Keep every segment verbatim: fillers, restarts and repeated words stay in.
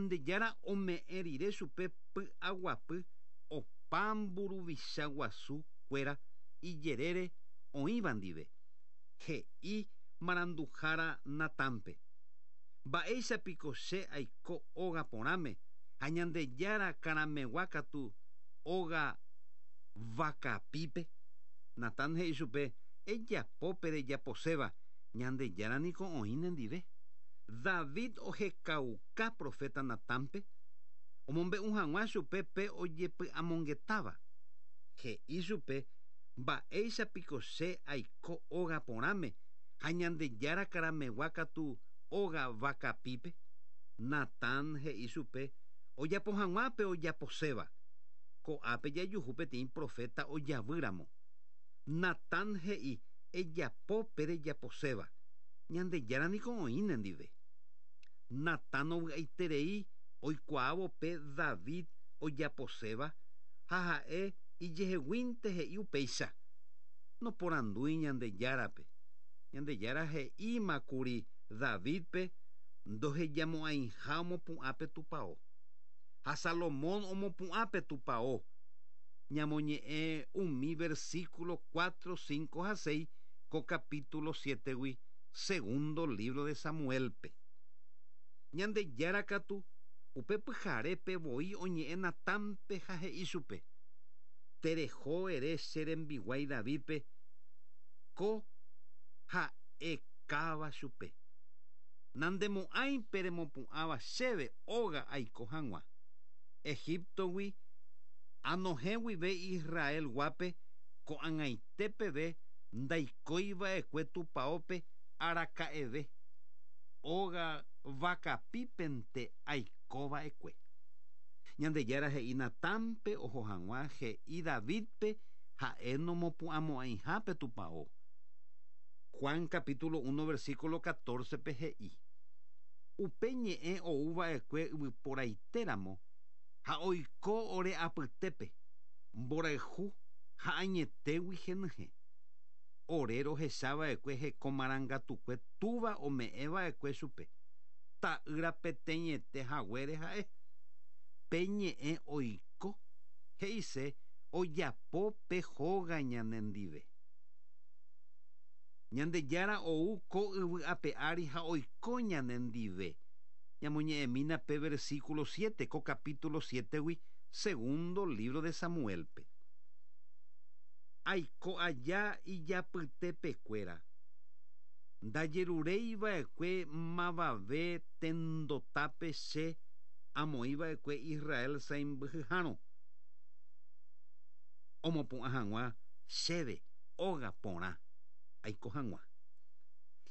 Ñandejára ome'ẽ rire chupe py'aguapy opa mburuvicha guasukuéra ijerére oĩva ndive. He'i maranduhára Natánpe. Mba'éichapiko che aiko óga porãme ha Ñandejára karamegua katu óga vakapípe. Natán he'i chupe ejapópe rejaposéva Ñandejára niko oĩ nendive. David ohekauka profeta Natánpe omombe'u hag̃ua chupe pe ojepy'amongetáva. He'i chupe mba'éichapiko che aiko óga porãme ha Ñandejára karamegua katu óga vakapípe. Natán he'i chupe ojapo hag̃ua pe ojaposéva. Ko'ápe jajuhu peteĩ profeta ojavýramo. Natán he'i ejapópe rejaposéva. Ñandejára niko oĩ nendive. Natán ovy'aiterei oikuaávo pe David ojaposéva ha ha'e ijeheguínte he'i upéicha. Noporandúi Ñandejárape. Ñandejára he'ímakuri Davidpe ndohejamo'ãiha omopu'ã pe tupão. Ha Salomón omopu'ã pe tupão. Ñamoñe'ẽ umi versículo cuatro, cinco ha seis ko capítulo siete-gui segundo libro de Samuelpe. Ñandejára katu upe pyharépe voi oñe'ẽ Natánpe ha he'i chupe. Tereho ere che rembiguái Davidpe ko ha'ekáva chupe. Nandemo'ãipe remopu'ãva chéve óga aiko hag̃ua. Egiptogui anohẽ guive Israel guápe ko'ag̃aite peve ndaikóiva'ekue tupãópe araka'eve. Óga vakapípente aikova'ekue. Ñandejára he'i Natánpe oho hag̃ua he'i Davidpe ha'e nomopu'ãmo'ãihápe tupão. Juan capítulo uno versículo catorce pe he'i. Upe ñe'ẽ ouva'ekue yvyporaitéramo ha oiko ore apytépe mborayhu ha añetégui henyhẽ. Ore rohechava'ekue hekomarangatukue túva ome'ẽva'ekue chupe. Ta'ýra peteĩete haguére ha'e. Pe ñe'ẽ oiko he'ise ojapo pe hóga ñanendive. Ñandejára ou ko yvy ape ári ha oiko ñanendive. Ñamoñe'ẽmína pe versículo siete ko capítulo siete-gui segundo libro de Samuelpe. Aiko aja ijapytepekuéra. Ndajerureiva'ekue mavave tendotápe che amoĩva'ekue Israel sãimbyhyhárõ. Omopu'ã hag̃ua chéve óga porã aiko hag̃ua.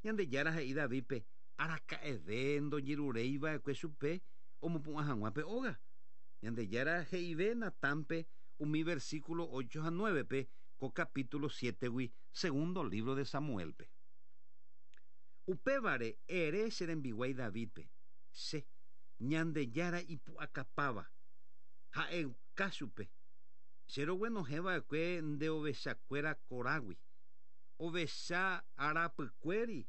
Ñandejára he'i Davidpe araka'eve ndojerureiva'ekue chupe omopu'ã hag̃ua pe óga. Ñandejára he'ive Natánpe umi versículo ocho ha nueve-pe ko capítulo siete-gui segundo libro de Samuelpe. Upévare ere che rembiguái Davidpe che Ñandejára ipu'akapáva ha'euka chupe. Che roguenohẽva'ekue nde ovechakuéra korágui. Ovecha arapykuéri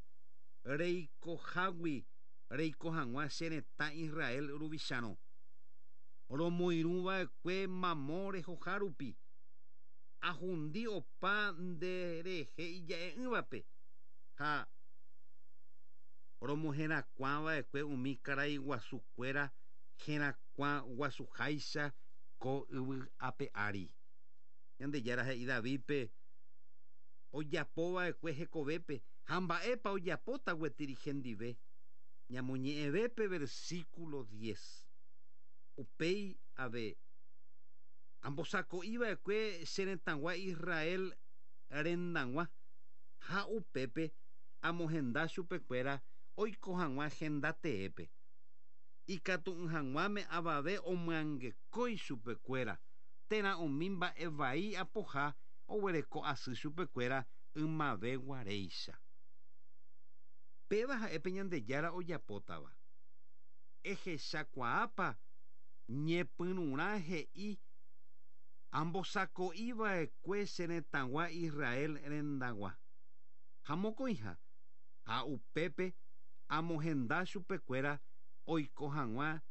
reikohágui reiko hag̃ua che retã Israel ruvichárõ. Romoirũva'ekue mamo rehoha rupi. Ahundi opa nderehe ija'e'ỹvape ha romoherakuãva'ekue umi karai guasukuéra herakuã guasuháicha ko yvy ape ári. Ñandejára he'i Davidpe ojapova'ekue hekovépe ha mba'épa ojapóta gueteri hendive. Ñamoñe'ẽvépe versículo diez. Upéi ave ambosako'iva'ekue che retãgua Israel rendag̃ua ha upépe amohenda chupekuéra oiko hag̃ua henda teépe. Ikatu'ỹ hag̃uáme avave omyangekói chupekuéra térã umi mba'e vai apoha oguereko asy chupekuéra ymave guaréicha. Péva ha'épe Ñandejára ojapótava. Ehechakuaápa ñepyrũrã he'i ambosako'iva'ekue che retãgua Israel rendag̃ua. Ha mokõiha ha upépe amohenda chupekuéra oiko hag̃ua